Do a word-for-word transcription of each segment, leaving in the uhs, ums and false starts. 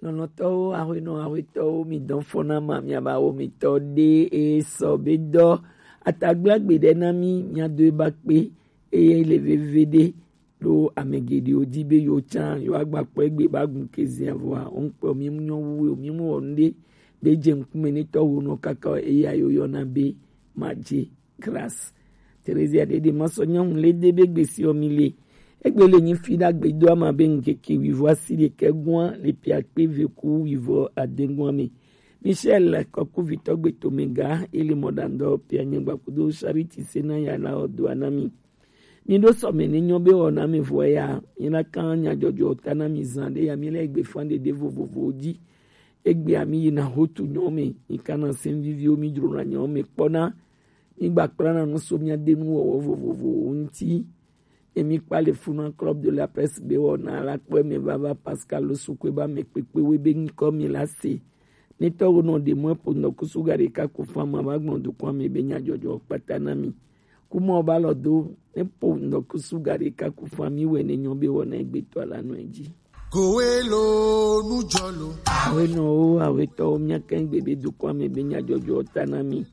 Lɔlɔ̃tɔwo, aƒenɔ, aƒetɔwo, mi dɔn fɔna ma, miaba wo mi tɔ ɖe e sɔ be dɔ atagbla gbe ɖe na mi, mia do e ba kpe, eye le veve ɖe ɖo ame geɖewo di be yewo tsã yewoagba kpɔ egbe ba gun kezia vɔa, wo ŋkpɔ mi mu nyɔ wu o, mi mu wɔ nu ɖe be dze ŋkume ne tɔwo nɔ kaka o, eya yewo yɔna be madze. Grâce. Terezia ɖeɖe masɔ nyɔnu le de be gbesiɔ mi le. Egbe le nyi fi ɖagbe do ama be ŋkeke wivɔ asi ɖekɛ gua le pia kpe ve ku wivɔ adengua me. Michel kɔkuvitɔ gbeto me ga ele mɔɖaŋdɔ pia nyegba kudo Charity sena ya la ɔdo anami. Mi ɖo sɔme ne nyɔ be wɔna me vɔ ya, mi na kan nyadzɔdzɔ ta na mi zan ɖe ya mi le egbe fan ɖeɖe vovovowo dzi. Egbea mi yina hotu nyɔ me, mi kana sɛn viviwo mi dzrona nyɔ me kpɔna. Mi gba kplana nu so mia de nu wɔwɔ vovovowo ŋuti. Emi kpa le funa Club de la Presse be wɔna la kpɔ me vava Pascal Sukwe ba me kpekpe we be ŋkɔ mi la se. Ne tɔwo nɔ ɖe mɔ epo ŋdɔkusu ga ɖeka ku fa ma va gblɔ dukɔa me be nyadzɔdzɔ kpata na mi. Kumɔ ba lɔ do ne po ŋdɔkusu ga ɖeka ku fa mi wɛ ne nyɔ be wɔna egbetɔ la nɔ edzi. Kowe lo nujɔ lo. Awenɔwo, awetɔwo, mia kɛn gbe be dukɔa me be nyadzɔdzɔ ta na mi.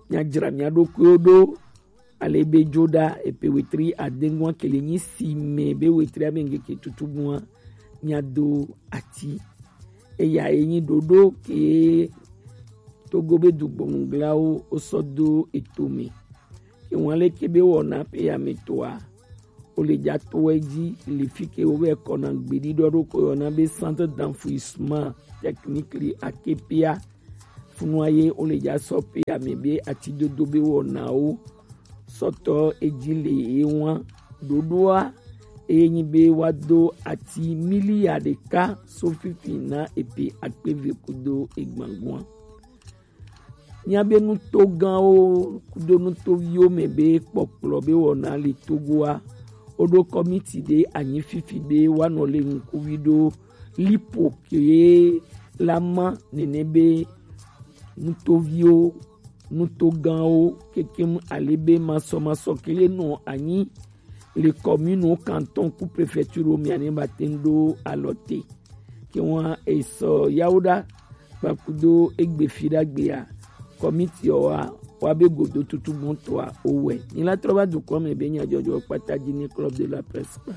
Mia dzra mia ɖokuiwo ɖo. Ale be dzo ɖa epe wetri adengua kele nyi si me be wetri abe ŋkeke tutu gua mia do ati. Eya ye nyi ɖoɖo ke Togo be dugbɔnuglawo wosɔ do eto me. Ke wan leke be wɔna pe ya me toa, wo le dza to edzi le fi ke wo be kɔna gbeɖiɖɔ ɖo ko yɔna be Centre d'enfouissement technique le Akepia. Funua ye wo le dza sɔ pe ya me be atidodo be wɔnawo sɔtɔ edzi le ye wan ɖoɖoa eye nyi be woado ati milia ɖeka so fifi na epe akpe ve kudo egbãgua. Mia be nuto gãwo kudo nutoviwo me be kpɔkplɔ be wɔna le Togoa, woɖo kɔmiti ɖe anyi fifi be woanɔ le ŋkuvi ɖo lipo ke la ma nene be nutoviwo, nuto gãwo kekem ale be masɔmasɔ ke le nɔ anyi le kɔminiwo, kantɔn ku prefɛturo mia ne ba te ŋ ɖo alɔ te. Ke wan esɔ yawo ɖa kpakudo egbe fi ɖagbea kɔmiti ɔ wa wa be godo tutu gbɔntɔa owɛ. Ni la trɔ va dukɔ me be nyadzɔdzɔ kpata dzi ne Club de la Presse kpa.